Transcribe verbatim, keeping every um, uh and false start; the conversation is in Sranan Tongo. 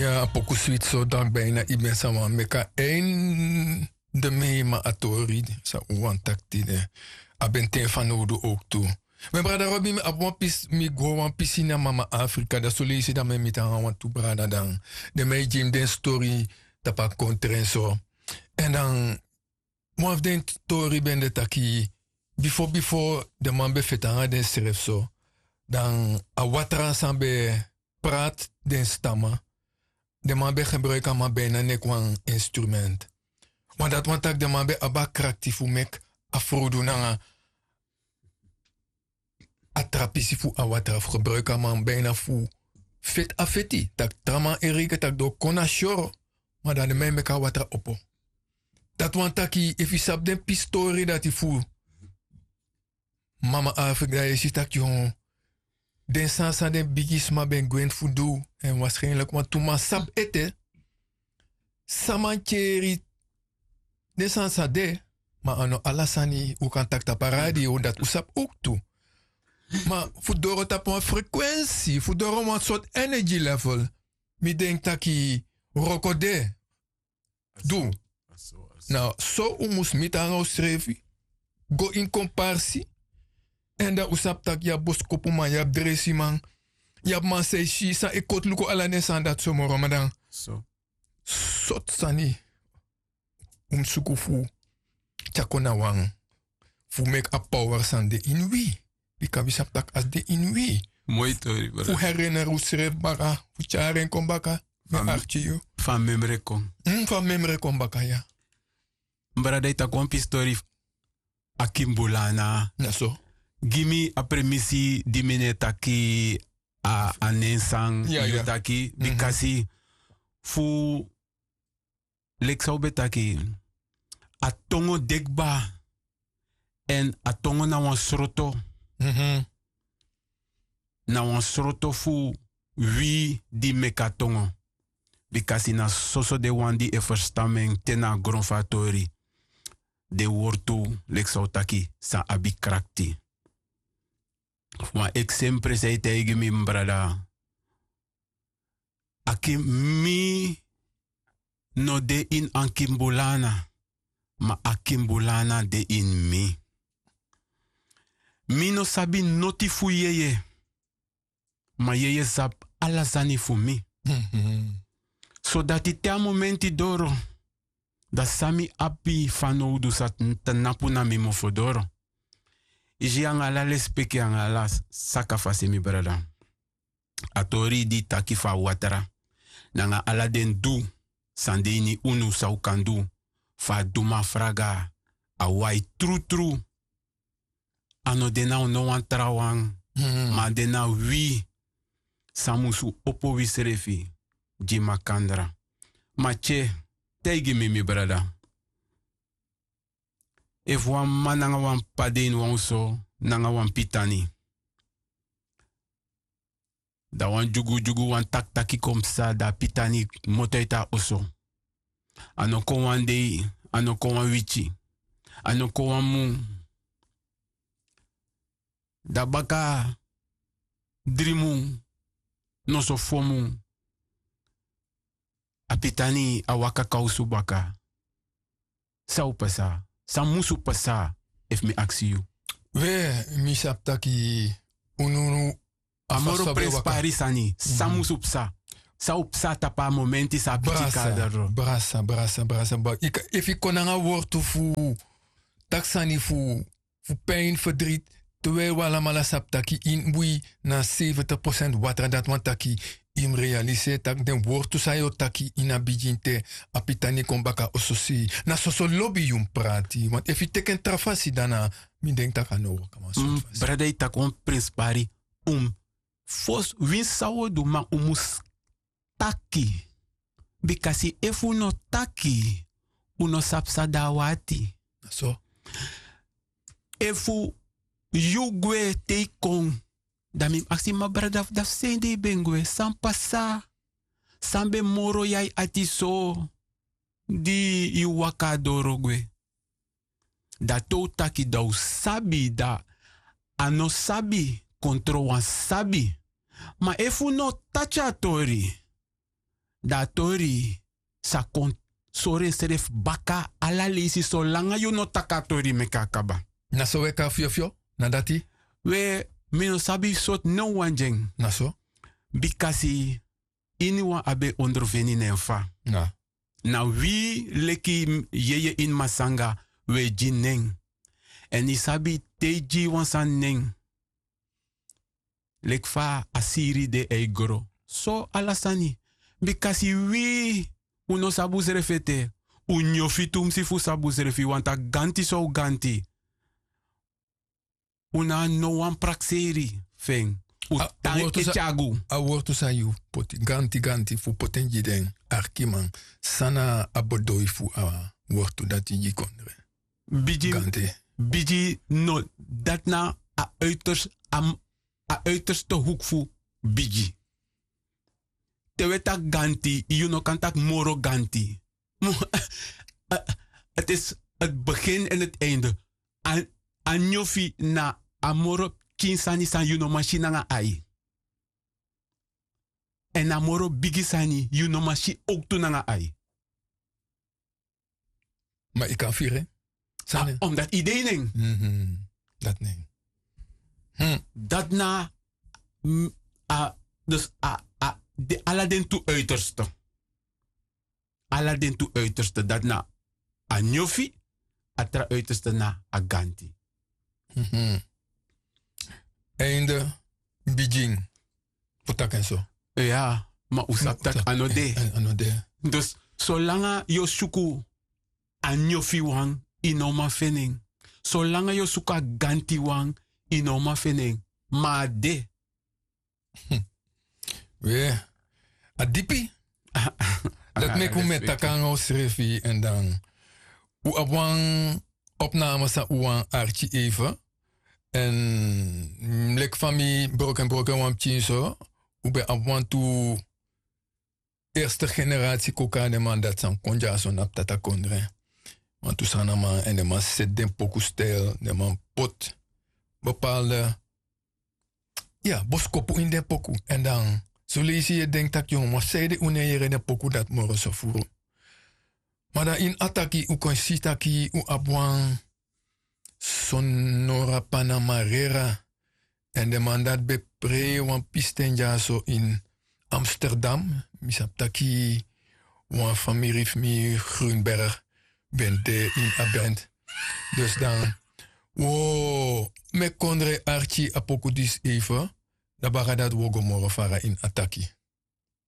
Ya a poku switi so dan bina yu ben sa wani meki a einde mei ma a tori san un wani taki tide. A ben ten fanowdu owktu. Mi brada robi mi abi wan pisi mi gwe wan pisi na mama afrika dan soleisi dan mi e miti nanga wantu brada dan den mi e gi mi den stori tapu a kontren so. Èn dan wan fu den tori ben de taki bifo bifo den man ben feti nanga densrefi so dan a watra san ben e prati den stama. Den man ben gebruiki a man bina neki wan instrument. Wan dati wani tak' den man ben abi a krakti fu meki a frodu nanga a tra pisi fu a watra fu gebruiki a man bina fu feti a feti tak' tra man e reiki tak' den o kon na syoro. Ma dan den man e meki a watra opo. Dati wani taki efu yu sabi den pisi tori dati fu mama afrika dan yu e si tak' yu den sani san den bigisma ben gwenti fu du èn warskenliki wantu man sabi ete san man keri den sani san de. Ma a no ala sani un kan taki tapu a radio dati un sabi owktu. Ma fu doro tapu wan frekwensi fu doro wan sortu energy level mi denki taki wroko de. Du na so un mus miti nanga unsrefi go ini komparsi. Èn dan un sabi tak' yu abi boskopuman yu abi dresiman yu abi man san e si san e koti luku ala den sani dati so moro ma dan sortu sani un mus suku fu tyari kon na wan fu meki a power san de ini wi. Bika wi sabi tak' a si de ini wi fu herineri unsrefi baka fu tyari en kon baka. Mi e arki yu fu a memre kon fu a memre kon baka ya. Mi brada e taki wan pisi tori fu a kimbulana na so gi mi a premisi di mi no e taki a nen san yu taki bikasi fu leki san un ben taki a tongo de kba. Èn a tongo na wan sroto na wan sroto fu wi di meki a tongo. Bikasi na soso den wan di e ferstan mi en te na a gron fu a tori den wortu leki san un taki san abi krakti. Wan eksempre san e taigi mi mi brada. A kin mi no de ini a kimbulana ma a kimbulana de ini mi. Mi no sabi noti fu yeye ma yeye sabi ala sani fu mi. Sodati te a momenti doro dan san mi abi fanowdu sa tnapu na mi mofo doro. Yu si anga ala lespeki anga ala saka fasi mi brada. A tori di taki fu a watra nanga ala den du san de ini unu san un kan du fu a duma fraga a wai trutru. A no de na no wan trawan ma a de na wi san musu opo wisrefi gi makandra. Ma tye taigi mi mi brada efu wan mama nanga wan p'pa de ini wan oso nanga wan pitani dan wan dyugudyugu wan takitaki kon psa dan a pitani kmoto eti a oso. A no kon wan dei, a no kon wan wiki, a no kon wan mun. Dan baka dri mun noso fo mun a pitani a waka kawsu baka. San o pasa? San musu pasa? Efu mi aksi yu we mi sabi taki unu a moro prenspari sani san musu psa? San o psa tapu a momenti san a piki kari dati doro? Brasa brasa brasa brasa efu yu kon nanga wortu fu taki sani fu fu pin ferdrit. Te wi e walamala sabi taki ini wi na seventig prosent watra dati wani taki yu mus realiseri tak' den wortu san yu o taki ini a bigin te a pitani kon baka oso sei. Na soso lobi yu mus prati want efu yu teki en tra fasi dan na mi denki tak' a no waka wan sortu fasi. Brada yu taki wan prenspari un mus fosi winsi san un o du ma un mus taki. Bikasi efu un no taki un no sabi san de na un ati. Efu yu gwe te yu kon dan mi mus aksi ma brada fu dati fu seni de yu ben gwe san pasa? San ben moro yu a yu ati so di yu waka a doro gwe? Dan te un taki dan un sabi dan a no sabi kontro wan sabi. Ma efu un no taki a tori Dan a tori sa kon sori ensrefi baka ala leisi solanga yu no taki a tori meki a kaba. Na so we kon na fyofyo? Na dati. We, mi no sabi sortu nen wan gi en. Na so. Bikasi iniwan abi en ondrofeni na en fa. Na wi leki yeye ini masanga, wi e gi nen. Èn yu sabi te yu gi wan sani nen, leki fa a siri de e gro, so ala sani. Bikasi wi, un no sabi unsrefi ete. Un nyofi tumsi fu sabi unsrefi, wanta ganti san un ganti. Un no abi no wan prakseri fu en. Un tan e tyari unu. A wortu san yu poti ganti ganti fu poti en gi den arkiman, san na a bedoi fu a wortu dati gi kondre? Bigi. Ganti. Bigi no, dati na a uiterste, a uiterste hoek fu bigi. Te wi e taki ganti, yu no kan taki moro ganti. Het is het begin en het einde. A nyofi na a moro pikin sani san yu no man si nanga ai. Èn a moro bigi sani yu no man si owktu nanga ai. Ma yu kan firi en. Sani. Omdat yu de ini en. Dati na en. Dati na, dus ala den tu uiterste. Ala den tu uiterste, dati na a nyofi, a tra uiterste na a ganti. Einde, bigin. Fu taki en so. Ya, ma un sabi taki a no de. Dus solanga yu o suku a nyofi wan, yu no man feni en. Solanga yu o suku a ganti wan, yu no man feni en. Ma a de. We, a dipi. Dati meki un mu e taki nanga unsrefi èn dan un abi wan opname san un wani arki even. Èn leki fa mi broken broken wan pikin so, un ben abi wantu eerste generatie kon kon na den man dati san kon dyaso na ptata kondre. Wantu sanaman èn den man seti den poku stijl, den man poti bepaalde ya boskopu ini den poku. Èn dan son leisi yu e denki tak' yu no man saide un no e yere den poku dati moro so furu. Ma dan ini a taki un kon si taki un abi wan sonora panamarera. Èn den man dati ben prei wan pisten dyaso ini amsterdam. Mi sabi taki wan famiri fu mi grunberg ben de ini a band. Dus dan un o meki kondre arki a poku disi even. Dan baka dati un o go moro fara ini a taki.